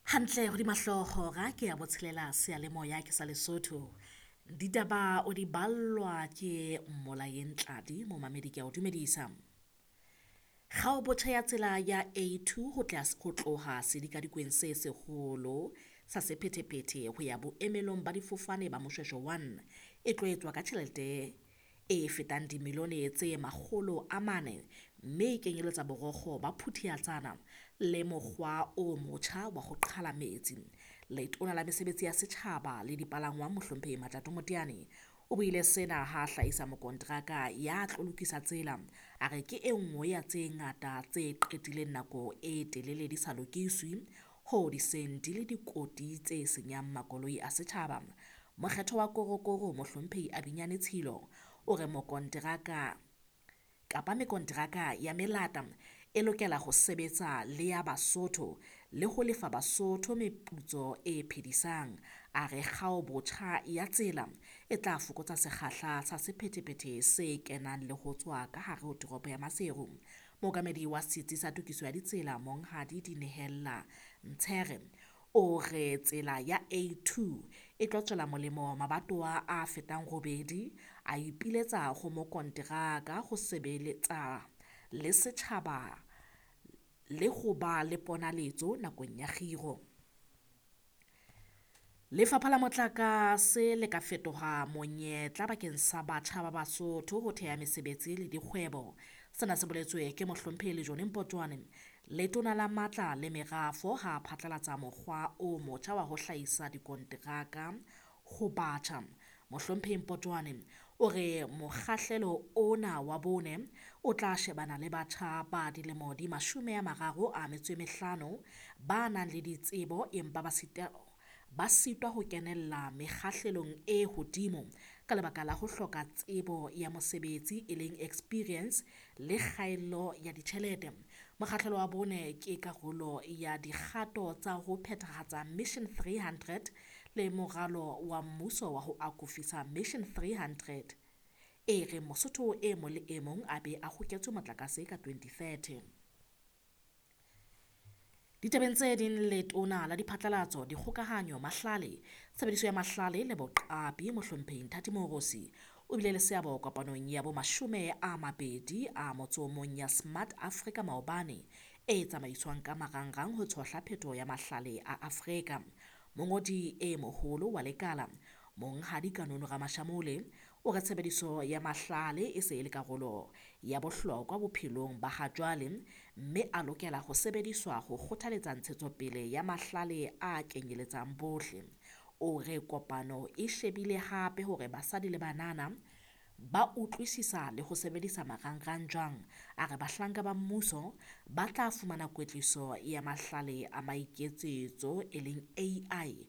Hantle hodima hlooho hora ke ya botshelela seyalemoya ke sa Lesotho. Ditaba o di ballwa ke Mmolayeng Tladi, momamedi ke a o dumedisa. Kgao botjha ya tsela ya A2 ho ho tloha sedikadikweng se seholo sa sephethephethe ho ya boemelong ba difofane ba Moshoeshoe 1 e tlo etswa ka tjhelete e fetang dimilione tse 400, mme e kenyeletsa borokgo ba Phuthiatsana le mokgwa o motjha wa ho qhala metsi. Letona la Mesebetsi ya Setjhaba le Dipalangwang Mohlomphehi Matjato Moteane o buile sena ha a hlahisa mokonteraka ya tlo lokisa tsela. A re ke e nngwe ya tse ngata tse qetileng nako e telele di sa lokiswe hoo di seng di le dikoti tse senyang makoloi a setjhaba. Mokgetho wa Korokoro Mohlomphehi Abinyane Tshilo o re mokonteraka kapa mekonteraka ya melata e lokela ho sebetsa le ya Basotho le ho lefa Basotho meputso e phedisang. A re kgao botjha ya tsela e tla fokotsa sekgahla sa sephethephethe se kenang le ho tswa ka hare ho toropo ya Maseru. Mookamedi wa setsi sa tokiso ya ditsela Monghadi Dinehella Ntshere o re tsela ya A2 e tlo tswela molemo mabatowa a fetang robedi, a ipiletsa ho mokonteraka ho sebeletsa le setjhaba le ho ba le ponaletso nakong ya kgiro. Lefapha la Motlakase le ka fetoha monyetla bakeng sa batjha ba Basotho ho theha mesebetsi le dikgwebo. Sena se boletswe ke Mohlomphehi Lejone Mpotjoane, Letona la Matla le Merafo ha a phatlalatsa mokgwa o motjha wa ho hlahisa dikonteraka ho batjha. Mohlomphehi Mpotjoane o re mokgahlelo ona wa bone o tla shebana le batjha ba dilemo di 35 ba nang le ditsebo empa ba sitwa ho kenella mekgahlelong e hodimo ka lebaka la ho hloka tsebo ya mosebetsi e leng experience le kgaello ya ditjhelete. Mokgahlelo wa bone ke karolo ya dikgato tsa ho phethahatsa Mission 300 le moralo wa mmuso wa ho akofisa Mission 300 e reng Mosotho e mong le e mong a be a hoketswe motlakase ka 2030. Ditabeng tse ding, Letona la Diphatlalatso, Dikgokahanyo, Mahlale, Tshebediso ya Mahlale le Boqapi Mohlomphehi Nthati Moorosi o bile le seabo kopanong ya bo 21 ya Smart Africa maobane e tsamaiswang ka marangrang ho tshohla phetoho ya mahlale a Afrika. Mongodi e moholo wa lekala Monghadi Kanono Ramashamole o re tshebediso ya mahlale e se e le karolo ya bohlokwa bophelong ba ha jwale, mme a lokela ho sebediswa ho kgothaletsa ntshetsopele ya mahlale a kenyeletsang bohle. O re kopano e shebile hape hore basadi le banana ba utlwisisa le ho sebedisa marangrang jwang. A re bahlanka ba mmuso ba tla fumana kwetliso ya mahlale a maiketsetso e leng AI.